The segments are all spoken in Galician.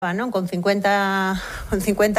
non? Con 50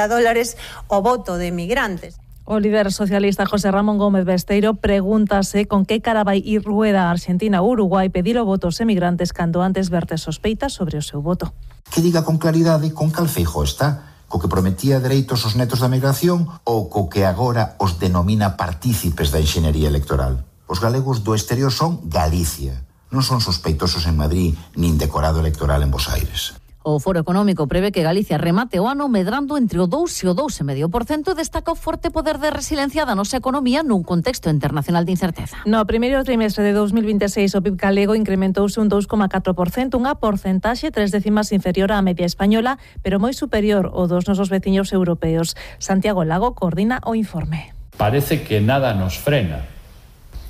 dólares o voto de migrantes. O líder socialista José Ramón Gómez Besteiro pregúntase con que cara vai ir Rueda a Argentina ou Uruguai pedir o voto aos emigrantes cando antes verte sospeitas sobre o seu voto. Que diga con claridade con cal Feijóo está, co que prometía dereitos aos netos da migración ou co que agora os denomina partícipes da enxeñería electoral. Os galegos do exterior son Galicia, non son sospeitosos en Madrid nin decorado electoral en Bos Aires. O Foro Económico prevé que Galicia remate o ano medrando entre o 2 e o 2,5% e destaca o forte poder de resiliencia da nosa economía nun contexto internacional de incerteza. No primeiro trimestre de 2026 o PIB galego incrementouse un 2,4%, unha porcentaxe 3 décimas inferior á media española, pero moi superior ao dos nosos veciños europeos. Santiago Lago coordina o informe. Parece que nada nos frena.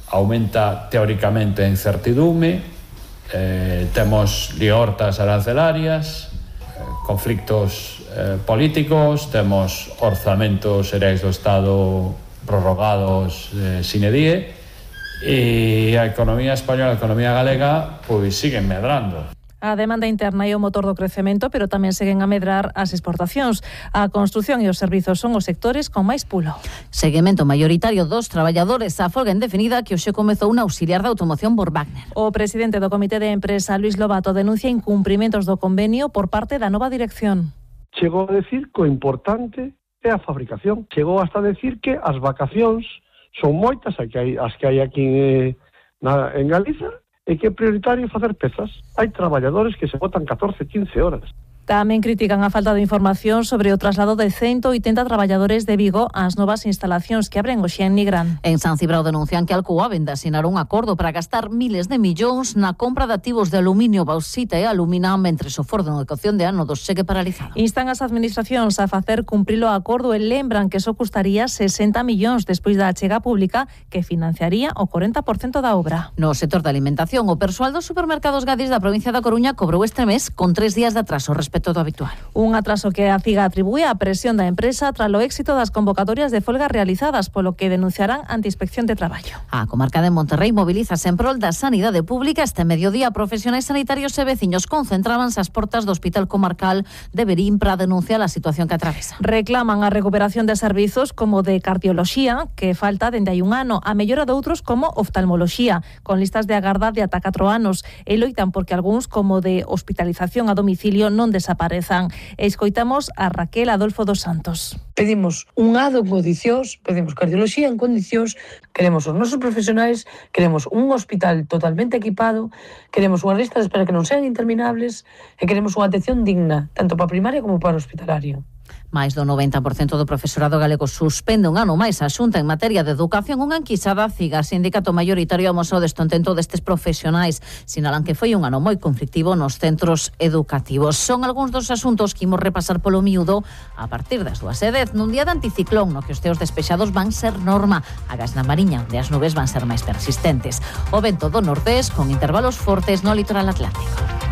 Aumenta teóricamente a incertidume, temos liortas arancelarias, conflictos políticos, temos orzamentos xerais do Estado prorrogados sine die e a economía española, a economía galega, pois siguen medrando. A demanda interna é o motor do crecemento, pero tamén seguen a medrar as exportacións. A construción e os servizos son os sectores con máis pulo. Seguimento mayoritario dos traballadores a folga indefinida que hoxe comezou un auxiliar de automoción por Wagner. O presidente do Comité de Empresa, Luis Lobato, denuncia incumprimentos do convenio por parte da nova dirección. Chegou a decir que o importante é a fabricación. Chegou hasta a decir que as vacacións son moitas as que hai aquí en Galiza, e que é prioritario facer pezas. Hai traballadores que se botan 14, 15 horas. Tamén critican a falta de información sobre o traslado de 180 traballadores de Vigo ás novas instalacións que abren hoxe en Nigrán. En San Cibrao denuncian que Alcoa vende asinar un acordo para gastar miles de millóns na compra de activos de aluminio, bauxita e alumina, mentre o Foro de Educación de Ánodos segue paralizado. Instan as administracións a facer cumprir o acordo e lembran que só custaría 60 millóns despois da achega pública que financiaría o 40% da obra. No sector da alimentación, o persoal dos supermercados Gadis da provincia da Coruña cobrou este mes con 3 días de atraso respecto do habitual. Un atraso que a CIGA atribúe á presión da empresa tras o éxito das convocatorias de folga realizadas, polo que denunciarán ante Inspección de Traballo. A comarca de Monterrey mobilízase en prol da sanidade pública. Este mediodía, profesionais sanitarios e veciños concentrábanse ás portas do Hospital Comarcal de Verín para denunciar a situación que atravesa. Reclaman a recuperación de servizos como de cardioloxía, que falta dende hai un ano, a mellora de outros como oftalmoloxía, con listas de agarda de ata 4 anos, e loitan porque algúns como de hospitalización a domicilio non desaparezan. Escoitamos a Raquel Adolfo dos Santos. Pedimos un ADO en condicións, pedimos cardioloxía en condicións, queremos os nosos profesionais, queremos un hospital totalmente equipado, queremos unha lista de espera que non sean interminables e queremos unha atención digna, tanto para primaria como para hospitalario. Mais do 90% do profesorado galego suspende un ano máis a Xunta en materia de educación. Unha enquisada CIGA, sindicato mayoritario, amosou o descontento destes profesionais. Sinalan que foi un ano moi conflictivo nos centros educativos. Son algúns dos asuntos que imos repasar polo miúdo a partir das 2:10, nun día de anticiclón no que os teos despexados van ser norma. Agas na Mariña, onde as nubes van ser máis persistentes. O vento do nordés con intervalos fortes no litoral atlántico.